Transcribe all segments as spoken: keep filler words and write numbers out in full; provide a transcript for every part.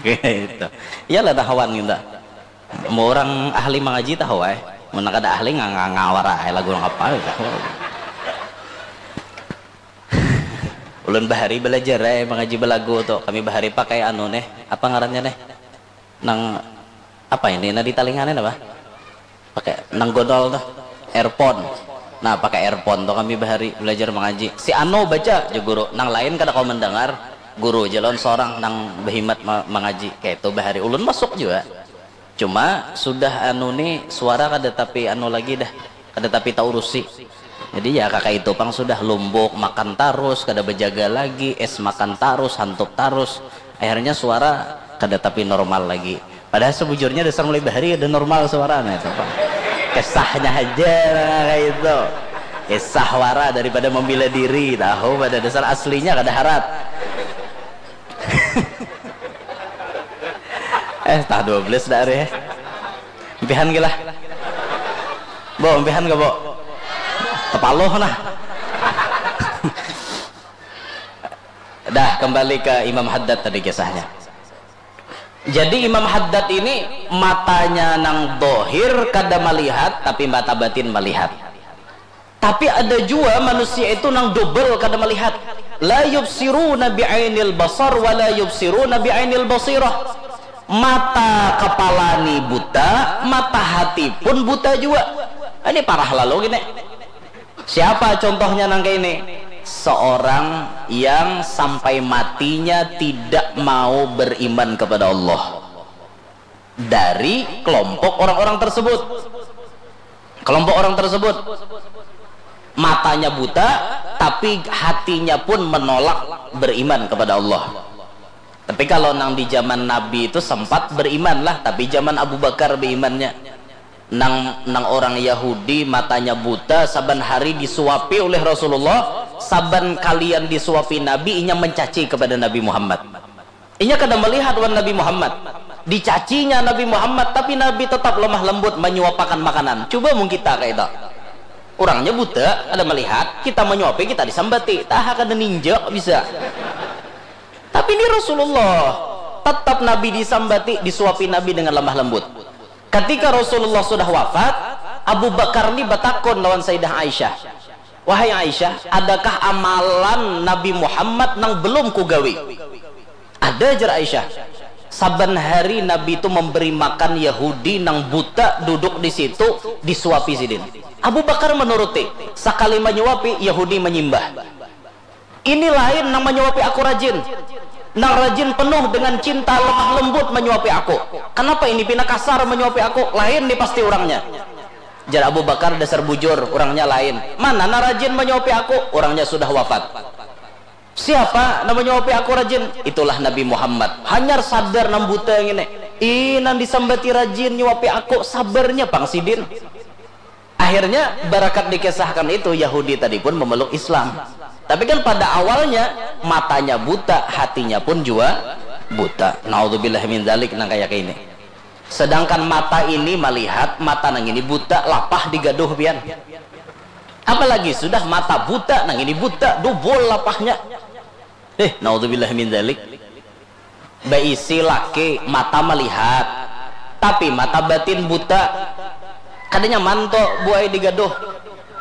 Gitu. Iyalah tahuan kita. Mau orang ahli mengaji tahu eh. Mau kada ahli ngawara eh lagu apa tahu. Ulun bahari belajar eh mengaji belagu tuh. Kami bahari pakai anu nih, apa ngarannya nih? Nang apa ini? Nah di talingannya apa? Pakai nang godol tuh, earphone. Nah pakai earphone tuh kami bahari belajar mengaji. Si Ano baca aja guru, nang lain kada kau mendengar. Guru aja lawan seorang nang berhimat mengaji kayak itu bahari ulun masuk juga. Cuma sudah anu nih suara kada tapi anu lagi dah, kada tapi taurusi. Jadi ya kakak itu pang sudah lumbuk makan tarus, kada bejaga lagi, es makan tarus, hantup tarus. Akhirnya suara kada tapi normal lagi. Padahal sebujurnya dasar mulai bahari ada normal suara nah itu pang. Kesahnya aja nah, kayak itu. Kesah wara daripada membela diri, tahu pada dasar aslinya kada harat. Eh, tah dua belas dah ari. Empihan gila. Bo, empihan gak, Bo? Kepaloh nah. Dah, kembali ke Imam Haddad tadi kisahnya. Jadi Imam Haddad ini matanya nang dohir kada melihat, tapi mata batin melihat. Tapi ada jua manusia itu nang dobel kada malihat. La yubsiruna bi'ainil basar wa la yubsiruna bi'ainil basirah. Mata kepala ni buta, mata hati pun buta jua. Ini parah lalu gini. Siapa contohnya nang kayak ini? Seorang yang sampai matinya tidak mau beriman kepada Allah. Dari kelompok orang-orang tersebut. Kelompok orang tersebut matanya buta, tapi hatinya pun menolak beriman kepada Allah. Tapi kalau nang di zaman Nabi itu sempat beriman lah, tapi zaman Abu Bakar berimannya. Nang nang orang Yahudi matanya buta, saban hari disuapi oleh Rasulullah, saban kalian disuapi Nabi, inya mencaci kepada Nabi Muhammad. Inya kada melihat wan Nabi Muhammad. Dicacinya Nabi Muhammad, tapi Nabi tetap lemah lembut menyuapakan makanan. Coba mung kita kayak itu. Orangnya buta, kada melihat, kita menyuapi, kita disambati. Taha kada ninjak bisa. Tapi ini Rasulullah, tetap Nabi disambati, disuapi Nabi dengan lemah lembut. Ketika Rasulullah sudah wafat, Abu Bakar ni batakun lawan Sayyidah Aisyah. Wahai Aisyah, adakah amalan Nabi Muhammad nang belum kugawi? Ada, jar Aisyah. Saban hari Nabi itu memberi makan Yahudi nang buta duduk di situ, disuapi sidin. Abu Bakar menuruti. Sakali menyuapi, Yahudi menyimbah. Ini lain nang menyuapi aku rajin. Nang rajin penuh dengan cinta lemah lembut menyuapi aku. Kenapa ini pina kasar menyuapi aku? Lain nih pasti orangnya. Jar Abu Bakar dasar bujur, orangnya lain. Mana nang rajin menyuapi aku? Orangnya sudah wafat. Siapa nang menyuapi aku rajin? Itulah Nabi Muhammad. Hanyar sadar nang buta ini. Ih, nang disambati rajin nyuapi aku, sabarnya pang sidin. Akhirnya barakat dikisahkan itu Yahudi tadi pun memeluk Islam. Tapi kan pada awalnya matanya buta, hatinya pun juga buta. Naudzubillah min dzalik nang kayak ini. Sedangkan mata ini melihat, mata nang ini buta, lapah digaduh pian. Apalagi sudah mata buta, nang ini buta, dubul lapahnya. Eh, naudzubillah min dzalik. Baisi laki mata melihat, tapi mata batin buta. Kada nyaman tuh buai digaduh.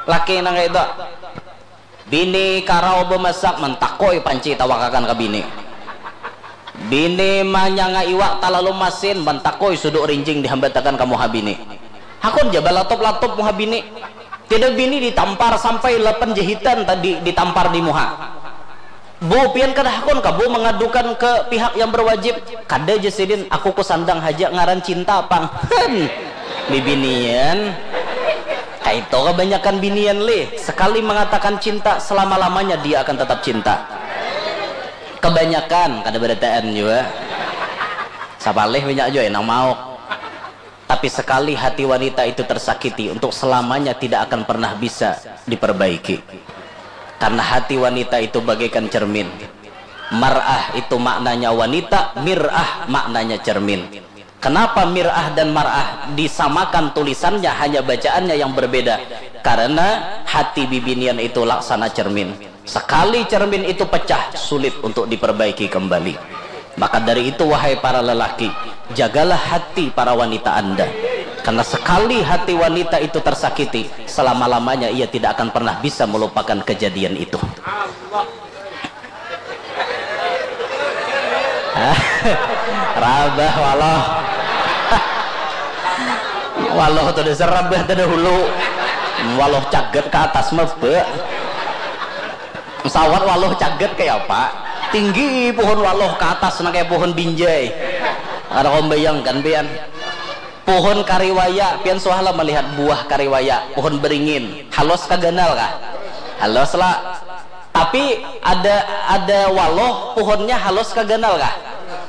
Laki nang itu. Bini karau bemasak mentakoi panci tawakakan ke bini. Bini manyanga iwak talalu masin mentakoi suduk rinjing dihambatakan ke muha bini. Hakun ja balatup-latup muha bini. Tidak bini ditampar sampai lapan jahitan tadi ditampar di muha. Bu, pian kada hakun kah bu mengadukan ke pihak yang berwajib? Kada ja sidin, aku ku sandang haja ngaran cinta pang. Hen. Bibinian. Kaito kebanyakan binian lih. Sekali mengatakan cinta, selama-lamanya dia akan tetap cinta. Kebanyakan, kada berataan juga. Sapalih banyak juga yang mau. Tapi sekali hati wanita itu tersakiti, untuk selamanya tidak akan pernah bisa diperbaiki. Karena hati wanita itu bagaikan cermin. Mar'ah itu maknanya wanita, mir'ah maknanya cermin. Kenapa mir'ah dan mar'ah disamakan tulisannya, hanya bacaannya yang berbeda? Karena hati bibinian itu laksana cermin. Sekali cermin itu pecah, sulit untuk diperbaiki kembali. Maka dari itu, wahai para lelaki, jagalah hati para wanita Anda. Karena sekali hati wanita itu tersakiti, selama-lamanya ia tidak akan pernah bisa melupakan kejadian itu. Rabah waloh. Waloh tu dasar rabah terdahulu. Waloh caget ke atas mebe. Pesawat waloh caget kayak apa? Tinggi pohon waloh ke atas, nah kayak pohon binjai. Ada kau bayangkan, pian? Pohon kariwaya, pian suahlah melihat buah kariwaya, pohon beringin, halus kah ganal kah? Halus lah. Tapi ada ada waloh, pohonnya halus kah ganal kah?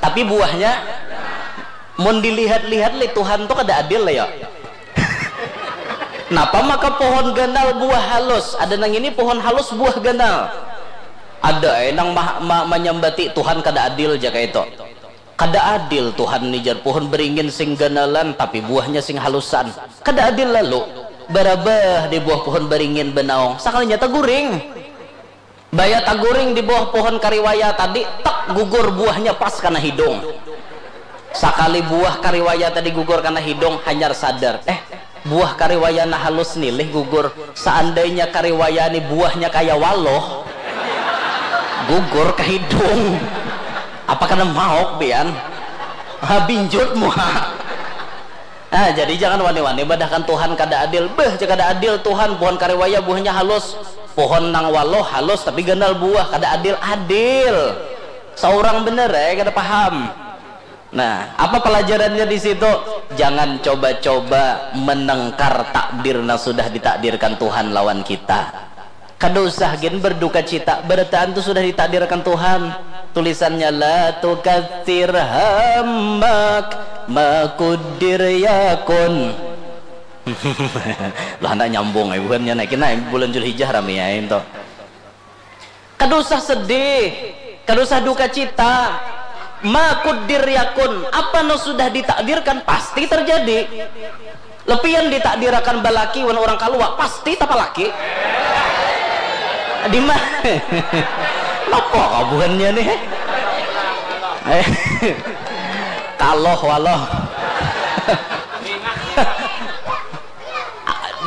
Tapi buahnya, mun dilihat-lihat li Tuhan tuh kada adil lah ya. Napa maka pohon ganal buah halus, ada nang ini pohon halus buah ganal? Ada eh nang ma, ma, manyambati Tuhan kada adil jaka itu. Kada adil Tuhan ni, jar, pohon beringin sing ganalan tapi buahnya sing halusan. Kada adil lalu. Barabah di buah pohon beringin benaung, sakalinya taguring. Baya taguring di bawah pohon kariwaya tadi, tak gugur buahnya pas kana hidung. Sakali buah kariwaya tadi gugur kana hidung, hanyar sadar, eh, buah kariwaya nah halus nilih gugur. Seandainya kariwaya ni buahnya kaya waloh, gugur ke hidung. Apa kena maok pian? Ha, binjut muha. Ah, jadi jangan wani-wani badahkan Tuhan kada adil. Beuh, cek kada adil Tuhan, pohon kariwaya buahnya halus, pohon nang waloh halus tapi ganal buah, kada adil. Adil. Seorang bener eh kada paham. Nah, apa pelajarannya di situ? Jangan coba-coba menengkar takdir yang sudah ditakdirkan Tuhan lawan kita. Kada usah gin berduka cita, barataan tu sudah ditakdirkan Tuhan. Tulisannya, "La tukatsir hammak, ma kudir yakun." Lah, handak nyambung ai buhannya, nah, kena bulan Julhijjah rami ai tu. Kada usah sedih, kada usah duka cita. Ma kudir yakun, apa nu sudah ditakdirkan pasti terjadi. Lepian ditakdirakan balaki wan urang kalua, pasti tapalaki. Di mana? Napa kabuhannya nih? Kaloh waloh.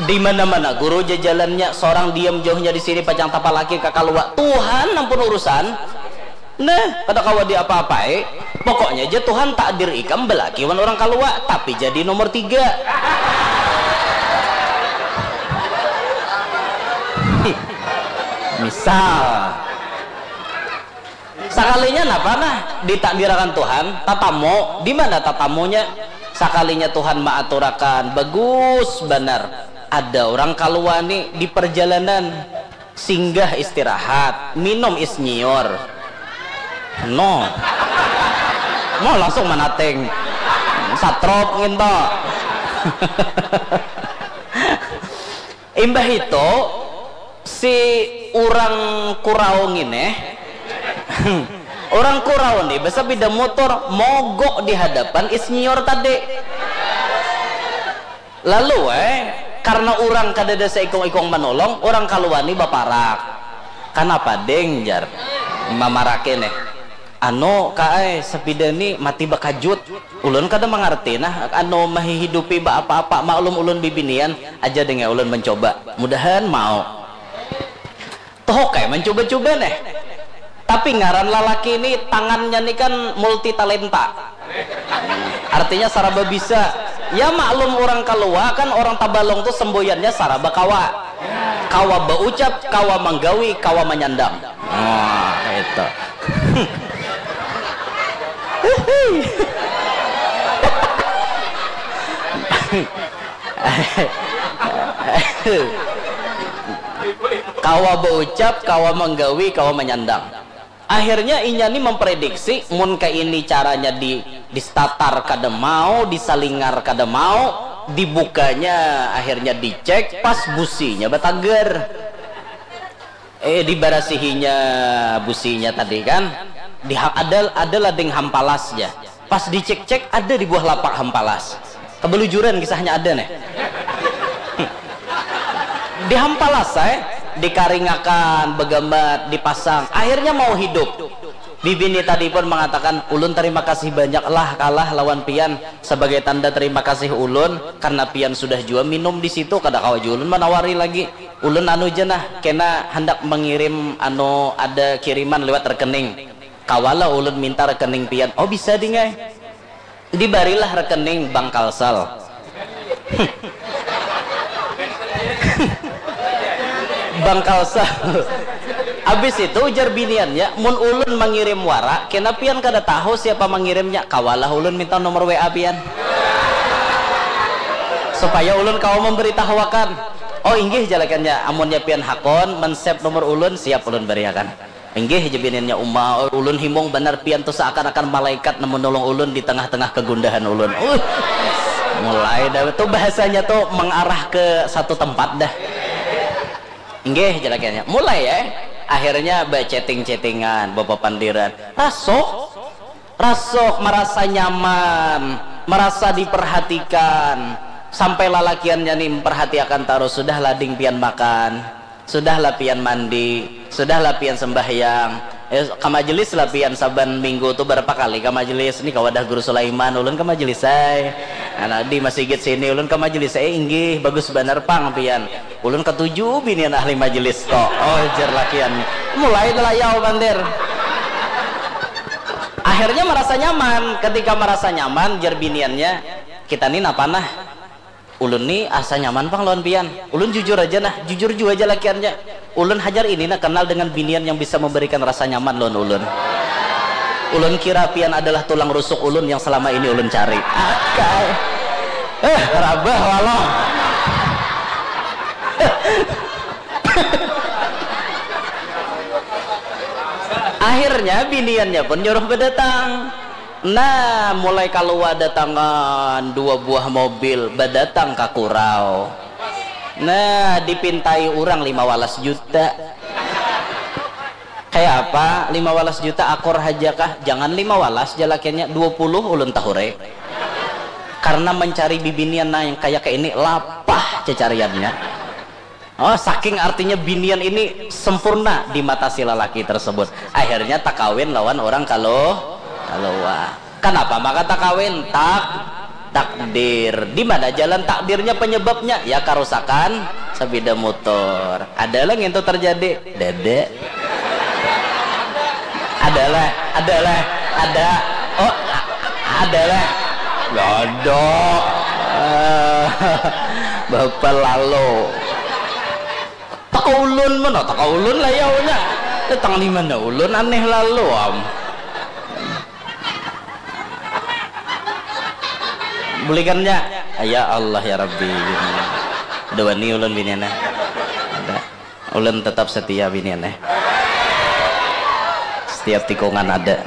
Di mana-mana guru jajalannya, seorang diam jauhnya di sini pacang tapalaki ka kalua. Tuhan ampun urusan. Nah, kada kawa diapa-apai. Pokoknya ja Tuhan takdir ikam balaki wan urang kalua, tapi jadi nomor tiga. Misal, sakalinya napa nah ditakdirakan Tuhan tatamu, di mana tatamunya? Sakalinya Tuhan maaturakan, bagus banar. Ada urang kalua ni di perjalanan. Singgah istirahat, minum is nyiur. No. No, langsung manating. Satrop nginto. Imbah itu, si urang kurau ngini, urang kurau ni basapida mutur mogok di hadapan is nyiur tadi. Lalu eh, karena urang kadada saikung-ikung manolong, urang kalua ni baparak. Kanapa ding, jar mamaraki nih. Anu ka ai, sapida ni mati bakajut. Ulun kada mangarti nah, anu mahihidupi baapa-apa, maklum ulun bibinian. Aja ding ai ulun mancoba, mudahan mau. Toh oke, mancuba-cuba neh. Tapi ngaran lalaki ni tangannya ni kan multi talenta. Artinya saraba bisa. Ya maklum urang kalua kan, urang tabalong tu semboyannya saraba kawa. Kawa baucap, kawa manggawi, kawa manyandang. Wah, itu. Kawa baucap, kawa manggawi, kawa manyandang. Akhirnya inya ni memprediksi mun kaini caranya di distatar kada mau, disalingar kada mau, dibukanya akhirnya dicek pas businya batagar. Eh, dibarasihinya businya tadi kan. Di ada ada lading hampalas ja. Pas dicek-cek ada di buah lapak hampalas. Kebelujuran kisahnya ada nih. Dihampalas saya, dikaringakan, begamat, dipasang. Akhirnya mau hidup. Bibini tadi pun mengatakan, "Ulun terima kasih banyak lah kalah lawan pian. Sebagai tanda terima kasih ulun, karena pian sudah jua minum di situ, kada kawa jua ulun manawari lagi. Ulun anu ja nah, kena handak mengirim anu, ada kiriman lewat rekening. Kawalah ulun minta rekening pian?" "Oh, bisa ding ai." Dibarilah rekening Bank Kalsel. Bank Kalsel. Habis itu ujar biniannya, "Mun ulun mangirim wara, kena pian kada tahu siapa mangirimnya, kawalah ulun minta nomor W A pian. Supaya ulun kawa memberitahuakan." "Oh, inggih," jalakannya, "amunnya pian hakun, men-save nomor ulun, siap ulun bariakan." "Inggih," jar biniannya, "Uma, ulun himung banar, pian tu seakan-akan malaikat nang menolong ulun di tengah-tengah kegundahan ulun." Uh, mulai dah tu bahasanya tu mengarah ke satu tempat dah. "Inggih," jar lakiannya. Mulai ya. Akhirnya ba-chatting-chattingan, bapapandiran. Rasuh, rasuh, merasa nyaman, merasa diperhatikan. Sampai lalakiannya ni memperhatiakan tarus, "Sudahlah ding pian makan. Sudahlah pian mandi, sudahlah pian sembahyang. Eh, ka majelis lah pian saban minggu tu, berapa kali ka majelis?" "Ni ka wadah Guru Sulaiman ulun ka majelis ai." "Nah, di masigit sini ulun ka majelis ai." "Eh, inggih, bagus banar pang pian. Ulun katuju binian ahli majelis tu." Oh, jar lakian. Mulai layau bandir. Akhirnya merasa nyaman. Ketika merasa nyaman, jar biniannya, "Kita ni napa nah?" "Ulun ni asa nyaman pang lawan pian. Ulun jujur aja nah." Jujur jua aja lakiannya. "Ulun hajar ini nah kenal dengan binian yang bisa memberikan rasa nyaman lawan ulun. Ulun kira pian adalah tulang rusuk ulun yang selama ini ulun cari." Akai. Eh, rabah walah. Akhirnya biniannya pun nyuruh berdatang. Nah, mulai kaluar datangan dua buah mobil, badatang ka Kurau. Nah, dipintai urang lima walas juta. "Kaya apa? Lima walas juta akur haja kah?" "Jangan lima walas," jar lakiannya, "dua puluh ulun tahurai." Karena mencari bibinian nang kaya ini lapah cecariannya. Oh, saking artinya binian ini sempurna di mata si lalaki tersebut. Akhirnya takawin lawan orang kaluh, kaluar. Kenapa maka takawin? Tak, takdir. Di mana jalan takdirnya, penyebabnya? Ya, karusakan sepeda motor. Ada lah ngintu terjadi? Dede. Ada lah, ada lah, ada. Oh, a-, ada lah. Dede. Eh, Bapak lalu. Teka ulun mana? Teka ulun lah ya, unya. Datang di mana ulun? Aneh lalu, am. Bulikannya. Ya Allah, ya Rabbi. Ada wani ulun biniannya. Ada. Ulun tetap setia biniannya. Setiap tikungan ada.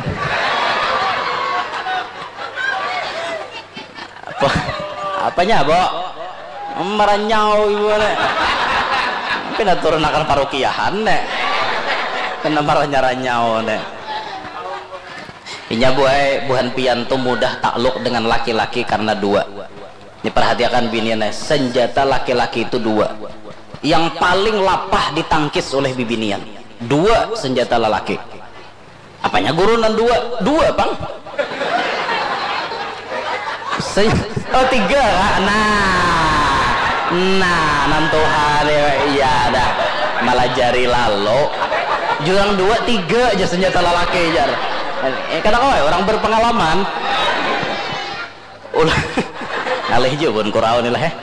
Apa? Apanya, Bo? Maranyau ibu ne. Pina turun akan parukiahan ne. Pina maranyau-ranyau ne. Inya buai, buhan pian tu mudah takluk dengan laki-laki karena dua. Ini perhatiakan bini ne, senjata laki-laki itu dua. Yang paling lapah ditangkis oleh bibinian. Dua senjata lelaki. Apanya guru nan dua? Dua, pang. Se-, oh, tiga, Kak. Nah. Nah, nan tuha deh. Iya dah. Malajari lalu. Jurang dua, tiga aja senjata lelaki, jar. Eh, kada kawa, orang berpengalaman. Ulah. Ngalih jua bun kurau ni lah, eh.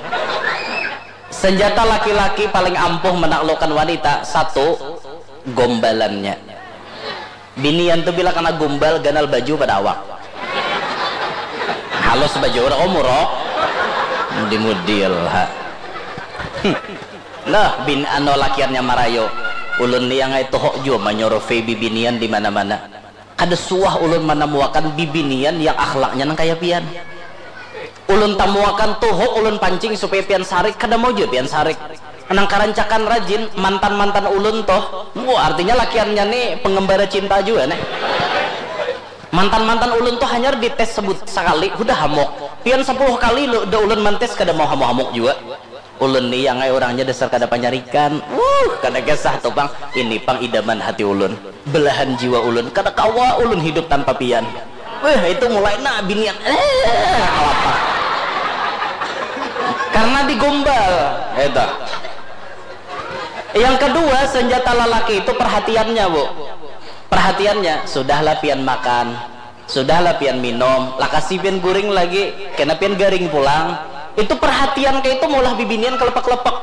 Senjata laki-laki paling ampuh menaklukkan wanita, satu, gombalannya. Binian tu bila kena gombal, ganal baju pada awak. Halus baju, udah kau murok. Mudi-mudi lah. Hmm. Nah, bin, anu, lakiannya marayu. Ulun ni yang ai tuhuk jua manyurvei bibinian di mana-mana. Kada suah ulun manamuakan bibinian yang akhlaknya nang kaya pian. Ulun tamuakan tuhuk, ulun pancing supaya pian sarik, kada mau jua pian sarik. Nang karancakan rajin, mantan-mantan ulun tuh, wah, artinya lakiannya nih pengembara cinta jua nih. Mantan-mantan ulun tuh hanyar dites sebut sakali, hudah hamuk. Pian sapuluh kali lu, da ulun mantes kada mau hamuk-hamuk jua. Ulun ni yang ai orangnya dasar kada panyarikan. Uh, kada kisah tu pang. Ini pang idaman hati ulun. Belahan jiwa ulun. Kada kawa ulun hidup tanpa pian. Weh, itu mulai nah binian. Eh, apa? Karena digombal. Itu. Yang kedua, senjata lelaki itu perhatiannya, Bu. Perhatiannya, sudahlah pian makan. Sudahlah pian minum, lakasi pian guring lagi, kena pian garing pulang. Itu perhatian kayak itu maulah bibinian kelepek-kelepek.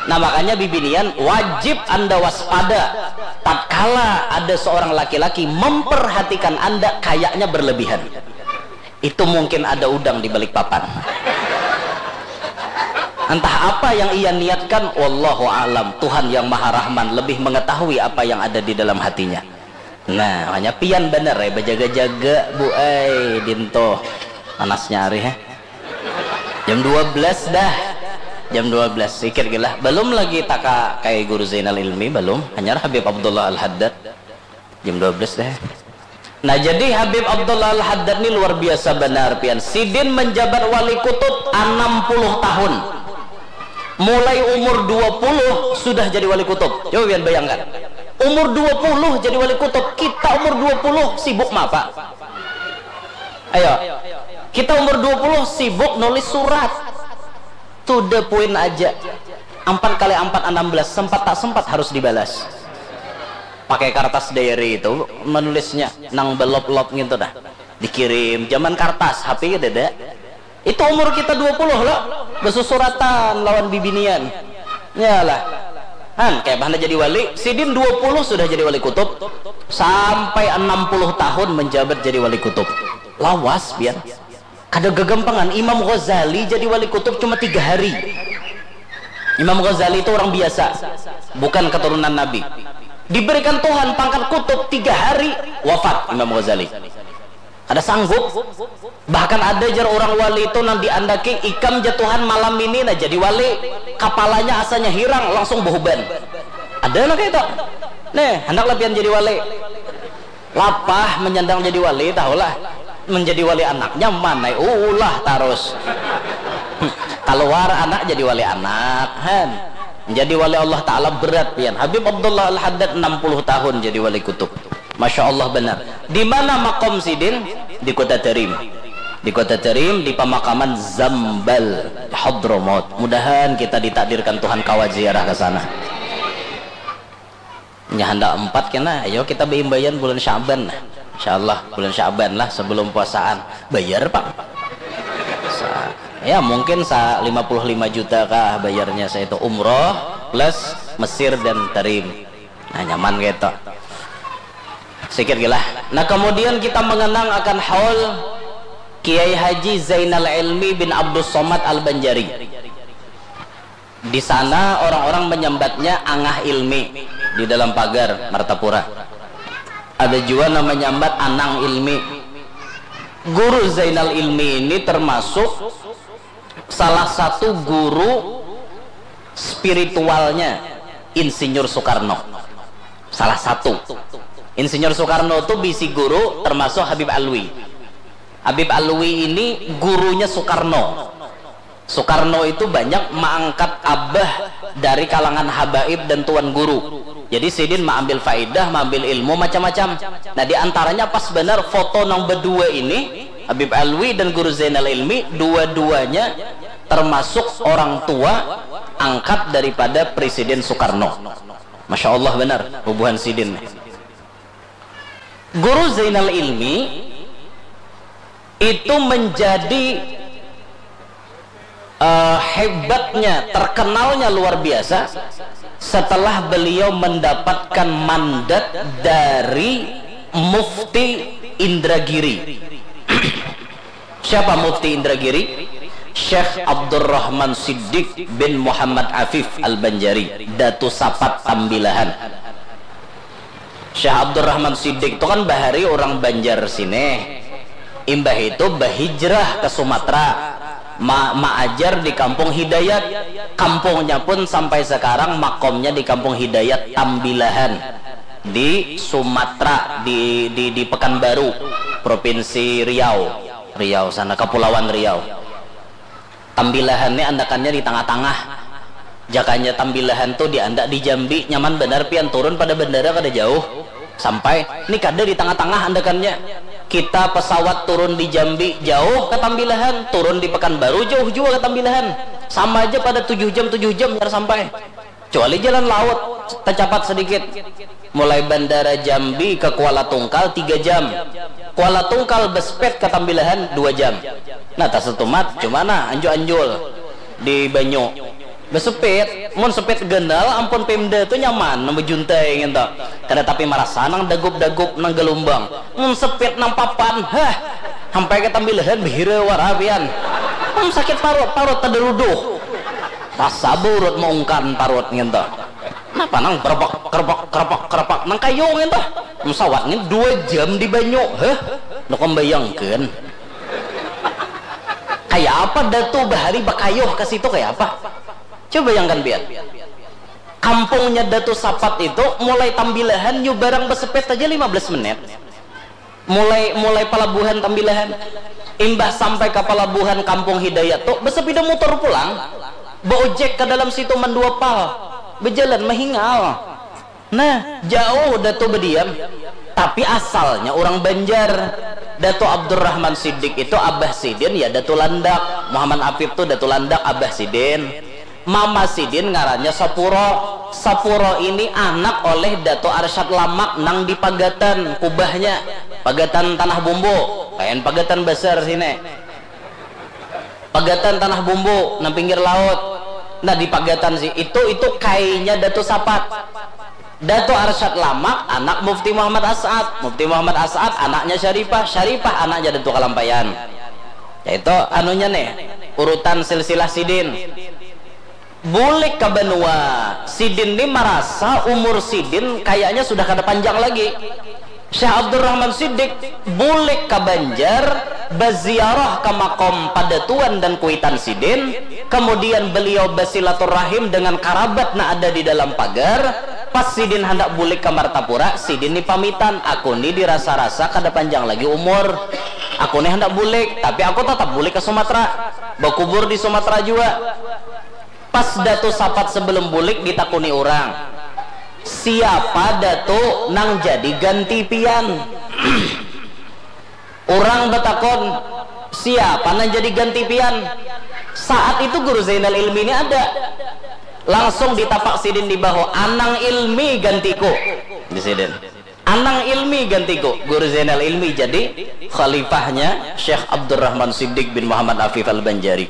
Nah, makanya bibinian wajib anda waspada tatkala ada seorang laki-laki memperhatikan anda kayaknya berlebihan. Itu mungkin ada udang di balik papan. Entah apa yang ia niatkan, wallahu alam. Tuhan yang Maha Rahman lebih mengetahui apa yang ada di dalam hatinya. Nah, hanya pian bener ya, berjaga-jaga, Bu, eh, dinto. Panasnya hari, ya. Jam dua belas dah. Jam dua belas, sikit gila. Belum lagi taka kayak Guru Zainal Ilmi, belum. Hanya Habib Abdullah Al-Haddad. Jam dua belas dah. Nah, jadi Habib Abdullah Al-Haddad ini luar biasa benar, pian. Sidin menjabat wali kutub enam puluh tahun. Mulai umur dua puluh sudah jadi wali kutub. Coba pian bayangkan. Umur dua puluh jadi wali kutub. Kita umur dua puluh sibuk apa? Ayo. Kita umur dua puluh sibuk nulis surat. To the point aja. Empat kali empat enam belas, sempat tak sempat harus dibalas. Pakai kertas diary itu menulisnya, nang belop-lop gitu dah. Dikirim, zaman kertas, H P kada ada. Itu umur kita dua puluh lo, besusuratan lawan bibinian. Yalah. Han, kayak mana jadi wali? Sidin dua puluh sudah jadi wali kutub. Sampai enam puluh tahun menjabat jadi wali kutub. Lawas, pian. Kada gagampangan. Imam Ghazali jadi wali kutub cuma tiga hari. Imam Ghazali itu orang biasa, bukan keturunan Nabi. Diberikan Tuhan pangkat kutub, tiga hari wafat Imam Ghazali. Kada sanggup. Bahkan ada jar orang wali itu nang diandaki, ikam ja Tuhan malam ini nah jadi wali. Kapalanya asanya hirang, langsung behuban. Ada lah kayak itu. Nih, hendaklah pian jadi wali. Lapah menyandang jadi wali, tahulah. Menjadi wali anak nyaman, ai ulah tarus. Keluar anak jadi wali anak, han. Menjadi wali Allah Ta'ala berat pian. Habib Abdullah Al-Haddad enam puluh tahun jadi wali kutub. Masya Allah benar. Di mana makom sidin? Di kota Tarim. Di kota Tarim, di pemakaman Zambal, Hadramaut. Mudahan kita ditakdirkan Tuhan kawa ziarah ke sana. Nya handak empat kena, ayo kita beimbaian bulan Syaban. Insya Allah bulan Syaban lah sebelum puasaan. Bayar pang. Sa- ya mungkin sa lima puluh lima juta kah bayarnya, saya itu umroh plus Mesir dan Tarim. Nah, nyaman gitu. Sikit gila. Nah, kemudian kita mengenang akan haul Kiai Haji Zainal Ilmi bin Abdus Somad Al-Banjari. Di sana orang-orang menyambatnya Angah Ilmi di dalam pagar Martapura. Ada juga nama nyambat Anang Ilmi. Guru Zainal Ilmi ini termasuk salah satu guru spiritualnya Insinyur Soekarno. Salah satu. Insinyur Soekarno itu bisi guru termasuk Habib Alwi. Habib Alwi ini gurunya Soekarno. Soekarno itu banyak mengangkat abah dari kalangan habaib dan tuan guru. Jadi sidin mengambil faidah, mengambil ilmu macam-macam. Nah, di antaranya pas benar foto nang berdua ini, Habib Alwi dan Guru Zainal Ilmi, dua-duanya termasuk orang tua angkat daripada Presiden Soekarno. Masya Allah benar, bubuhan sidin. Guru Zainal Ilmi itu menjadi eh, hebatnya, terkenalnya luar biasa setelah beliau mendapatkan mandat dari Mufti Indragiri. Siapa Mufti Indragiri? Syekh Abdurrahman Siddiq bin Muhammad Afif Al-Banjari, Datu Sapat Tambilahan. Syekh Abdurrahman Siddiq tu kan bahari orang Banjar sini. Imbah itu bahijrah ke Sumatera. Ma maajar di Kampung Hidayat. Kampungnya pun sampai sekarang makomnya di Kampung Hidayat Tambilahan di Sumatera, di di di Pekanbaru, Provinsi Riau. Riau sana, Kepulauan Riau. Tambilahan ni andakannya di tangah-tangah. Jakanya Tambilahan tu diandak di Jambi, nyaman banar pian turun pada bandara kada jauh. Sampai, ni kada di tangah-tangah andakannya. Kita pesawat turun di Jambi jauh ka Tambilahan, turun di Pekanbaru jauh jua ka Tambilahan. Sama aja pada tujuh jam, tujuh jam biar sampai. Kecuali jalan laut, tacapat sedikit. Mulai bandara Jambi ke Kuala Tungkal tiga jam. Kuala Tungkal bespet ke Tambilahan dua jam. Nah, tasatumat, cuma nah, anjul-anjul di banyu. Besepit, mun sepit ganal, ampun Pemda tu nyaman, nang bejuntai ngintu. Kada tapi marasa nang dagup-dagup, nang galumbang. Mun sepit nang papan, hah, sampai ke Tambilahan behira wara pian. Hmm, sakit parut, parut tadaruduh. Rasa baurut maungkan parut ngintu. Napa nang kerepak, kerepak, kerepak, kerepak, nang kayu ngintu. Pesawat ni dua jam di banyu, heh. Nukam bayangkan. Kaya apa Datu bahari bakayuh ke situ, kaya apa? Coba bayangkan pian. Kampungnya Datu Sapat itu mulai Tambilahan nyu barang besepet aja lima belas menit. Mulai, mulai palabuhan Tambilahan, imbah sampai ka palabuhan Kampung Hidayat tu, basapida mutur pulang, baojek ka dalam situ mandua pal, bajalan mahingal. Nah, jauh Datu badiam, tapi asalnya urang Banjar. Datu Abdurrahman Siddiq itu abah sidin ya Datu Landak, Muhammad Apip tu Datu Landak abah sidin. Mama sidin ngarannya Sapuro. Sapuro ini anak oleh Datu Arsyad Lamak nang di Pagatan, kubahnya. Pagatan Tanah Bumbu. Lain Pagatan Besar sini. Pagatan Tanah Bumbu, nang pinggir laut. Nah, di Pagatan si itu, itu kainya Datu Sapat. Datu Arsyad Lamak, anak Mufti Muhammad As'ad. Mufti Muhammad As'ad, anaknya Syarifah. Syarifah, anaknya Datu Kalampayan. Itu anunya nih, urutan silsilah sidin. Bulik ka banua, sidin ni marasa umur sidin kayaknya sudah kada panjang lagi. Syekh Abdurrahman Siddiq bulik ka Banjar, baziarah ka makom padatuan dan kuitan sidin, kemudian beliau basilaturahim dengan karabat nang ada di dalam pagar. Pas sidin handak bulik ka Martapura, sidin ni pamitan, "Aku ni dirasa-rasa kada panjang lagi umur. Aku ni handak bulik, tapi aku tatap bulik ka Sumatera, bakubur di Sumatera jua." Pas Datu Sapat sebelum bulik ditakuni urang, "Siapa Datu nang jadi ganti pian?" Urang batakun, "Siapa nang jadi ganti pian?" Saat itu Guru Zainal Ilmi ni ada. Langsung ditapak sidin di bahu, "Anang Ilmi gantiku." Di sidin. "Anang Ilmi gantiku." Guru Zainal Ilmi jadi khalifahnya Syekh Abdurrahman Siddiq bin Muhammad Afif Al-Banjari.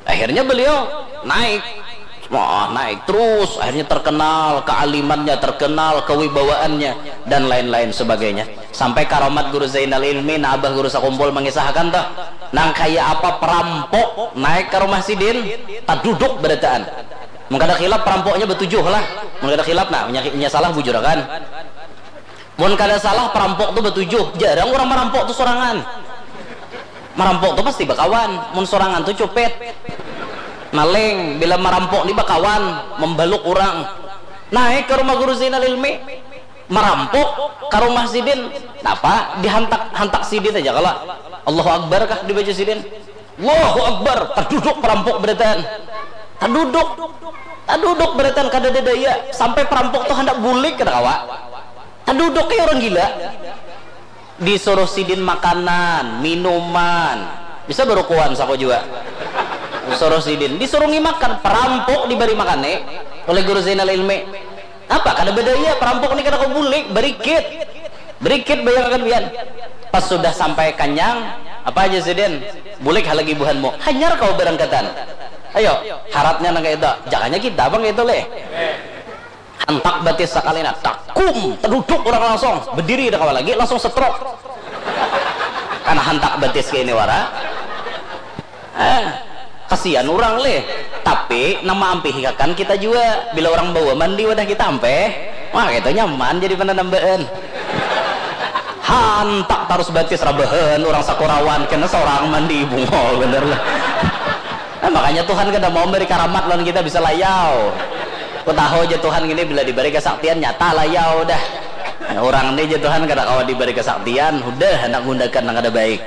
Akhirnya beliau naik. Wah, naik terus. Akhirnya terkenal kealimannya, terkenal kewibawaannya, dan lain-lain sebagainya. Sampai karomat Guru Zainal Ilmi, nah, Abah Guru Sakumpul mengisahkan tuh, nang kaya apa perampok naik ke rumah sidin, taduduk berataan. Mun kada khilaf, perampoknya batujuh lah. Mun kada khilaf, nah, nya, nya salah bujurakan. Mun kada salah, perampok tu batujuh. Jarang urang marampok tu sorangan. Marampok tu pasti bakawan. Mun sorangan tu copet. Maling, bila marampok ni bakawan, mambaluk urang. Naik ka rumah Guru Zainal Ilmi. Marampok ka rumah sidin. Napa? Dihantak, hantak sidin aja kalo. Allahu Akbar kah dibaca sidin? Allahu Akbar. Taduduk perampok berataan. Taduduk. Taduduk berataan, kadada daya. Sampai perampok tu handak bulik kada kawa. Taduduk kaya urang gila. Disuruh sidin makanan, minuman. Bisa barukuan saku jua. Suruh sidin, disurungi makan, perampok dibari makan ni oleh Guru Zainal Ilmi. Apa? Kada badaya, perampok ni kada kawa bulik, barikit. Barikit, bayangkan pian. Pas sudah sampai kanyang, apa aja sidin? "Bulik ha lagi buhanmu." Hanyar kawa barangkatan. Ayo, haratnya nang kaya itu. Jakanya kita pang kaya itu leh. Hantak batis sakali, nah, takum, taduduk urang langsung, badiri kada kawa lagi, langsung stroke. Karena hantak batis kaya ini wara. Eh, kasian urang leh. Tapi nang maampihi kakan kita jua. Bila urang bawa mandi wadah kita ampeh, wah, kita nyaman jadi pananambaan. Hantak tarus batis rabahan, urang sakurawan, kena sorang mandi, bungol banar lah. Nah, makanya Tuhan kada mau memberi karamat lawan kita bisa layau. Ku tahu aja Tuhan gini, bila diberi kesaktian, nyata layau dah. Nah, urang ni aja Tuhan kada kawa diberi kesaktian, hudah handak gundakan nang kada baik.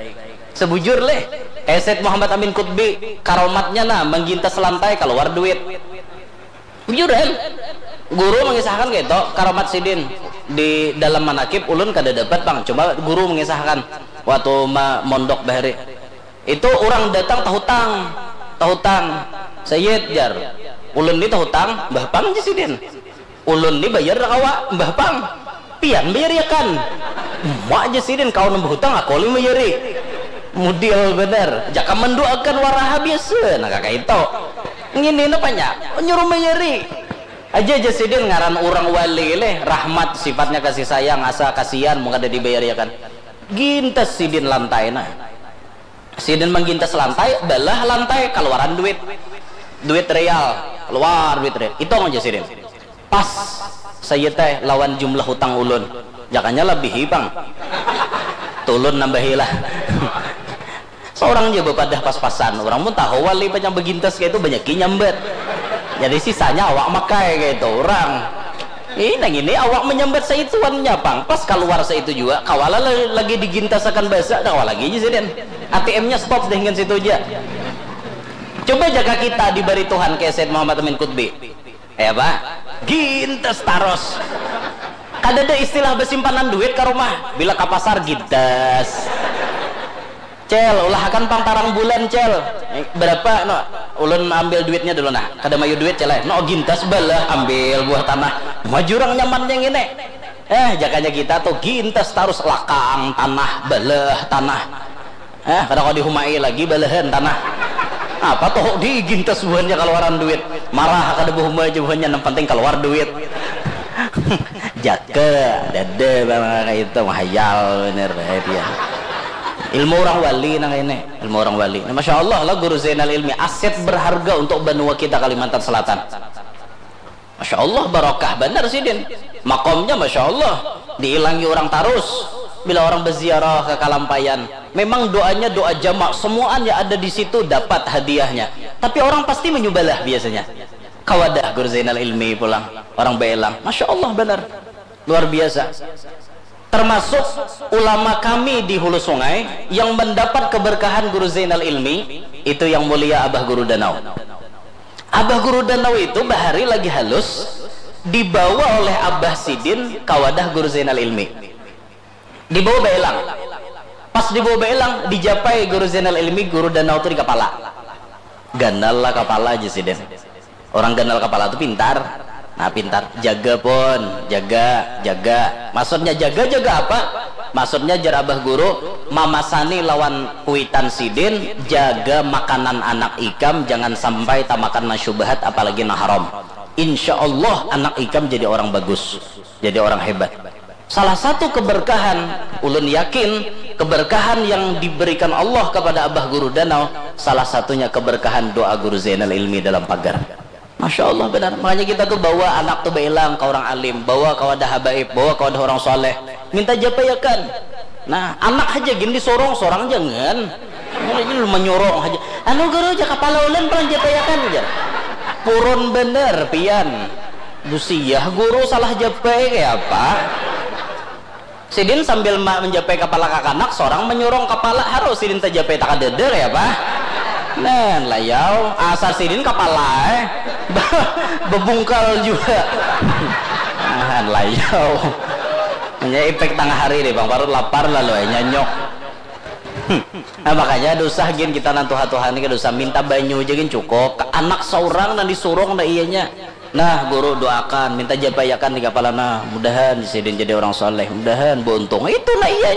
Sebujur leh. Eh, Said Muhammad Amin Kutbi, karomatnya nah, manggintas lantai, kaluar duit. Bujuran. Guru mangisahakan kaitu, karomat sidin. Di dalam manakib, ulun kada dapat pang. Cuma guru mangisahakan. Waktu ma-, mondok bahari. Itu urang datang tahutang. Tahutang. Sayyid, jar. Ulun ni tahutang, bah pang, jar sidin. Ulun ni bayar dah kawa, mbah pang. Pian bayariakan. Uma, jar sidin, kawa nang bahutang, aku lih bayari. Mudil banar. Jaka manduakan waraha biasa, nah kaka itu. Ngini napanya, nyuruh bayari. Aja, jar sidin, ngaran urang wali leh, rahmat, sifatnya kasih sayang, asa kasihan, mun kada dibayariakan. Gintas sidin lantai nah. Sidin manggintas lantai, balah lantai, kaluaran duit. Duit real, kaluar duit real. Itong aja sidin. Pas, saya teh lawan jumlah hutang ulun. Jakanya labihi pang. Tulun nambahi lah. Seorang aja bapadah pas-pasan. Orang pun tahu wali banyak begintas kayak itu, banyak nyambat. Jadi sisanya awak makai kayak itu orang. Ih, nang ini awak menyambat saituannya pang. Pas kaluar saitu jua, kawala la-, lagi digintasakan basa, dah kawa lagi aja sidin. A T M-nya stop deh dengan situ aja. Coba jaka kita dibari Tuhan kayak Said Muhammad Amin Kutbi. Ya, Pak? Gintas taros. Kada ada istilah besimpanan duit ke rumah. Bila ke pasar, gintas. Cel, ulahakan pang tarang bulan, Cel. Eh, berapa, no? Ulun ambil duitnya dulu, nah. Kada mayu duit, Cel, eh. No, gintas balah, ambil buah tanah. Majurang nyamannya ngini. Eh, jakanya kita tuh gintas tarus lakang tanah, balah tanah. Eh, kada kau dihumai lagi balahan tanah. Apa tuh digintas buhannya kaluaran duit. Marah kada bahumai aja buhannya, nang penting kaluar duit. Jaka, dada bang kayak itu, mahayal bener, eh, dia. Ilmu orang wali nang ini, ilmu orang wali. Nah, Masya Allah lah Guru Zainal Ilmi, aset berharga untuk benua kita Kalimantan Selatan. Masya Allah, barokah banar sidin. Makomnya Masya Allah, diilangi orang tarus. Bila orang berziarah ke Kalampayan, memang doanya doa jamak, semuaan yang ada di situ dapat hadiahnya. Tapi orang pasti menyubalah biasanya. Kawadah Guru Zainal Ilmi pulang, orang belang. Masya Allah banar. Luar biasa. Termasuk ulama kami di Hulu Sungai yang mendapat keberkahan Guru Zainal Ilmi, itu yang mulia Abah Guru Danau. Abah Guru Danau itu bahari lagi halus, dibawa oleh Abah Sidin ka wadah Guru Zainal Ilmi. Dibawa baelang. Pas dibawa baelang, dijapai Guru Zainal Ilmi, Guru Danau tu di kapala. Ganal lah kapala aja Sidin. Orang ganal kapala tu pintar. Nah, pintar. Jaga pun, jaga, jaga. Maksudnya jaga, jaga apa? Maksudnya jar Abah Guru, mamasani lawan kuitan Sidin, jaga makanan anak ikam, jangan sampai tamakan nang syubhat, apalagi nang haram. Insya Allah anak ikam jadi orang bagus, jadi orang hebat. Salah satu keberkahan, ulun yakin, keberkahan yang diberikan Allah kepada Abah Guru Danau, salah satunya keberkahan doa Guru Zainal Ilmi dalam pagar. Masya Allah benar. Makanya kita tuh bawa anak tuh bailang ke orang alim, bawa ke wadah habaib, bawa ke wadah orang soleh. Minta japaiakan. Nah, anak aja gin disorong, sorang jangan. Ini lu menyorong aja. Anu guru aja kapala ulun paling japaiakan aja. Purun bener pian. Busiah guru salah japai kayak apa? Sidin sambil ma-, menjapai kapala kakanak, sorang menyurung kapala, harus sidin tajapai takadada kaya apa? Nah, layau, asar sidin kapala eh. Bebungkal juga. Nah, layau. Hanya ipek tengah hari deh, Bang Parut lapar lalu eh, nyanyok. Nah, makanya ada usah gin kita nang tuha-tuha ni kada usah minta banyu aja gin cukup. Anak seorang nang disurung dah iyanya. Nah, guru doakan, minta japaiakan di kapala nah. Mudahan sidin jadi orang soleh, mudahan beruntung. Itu nah iya.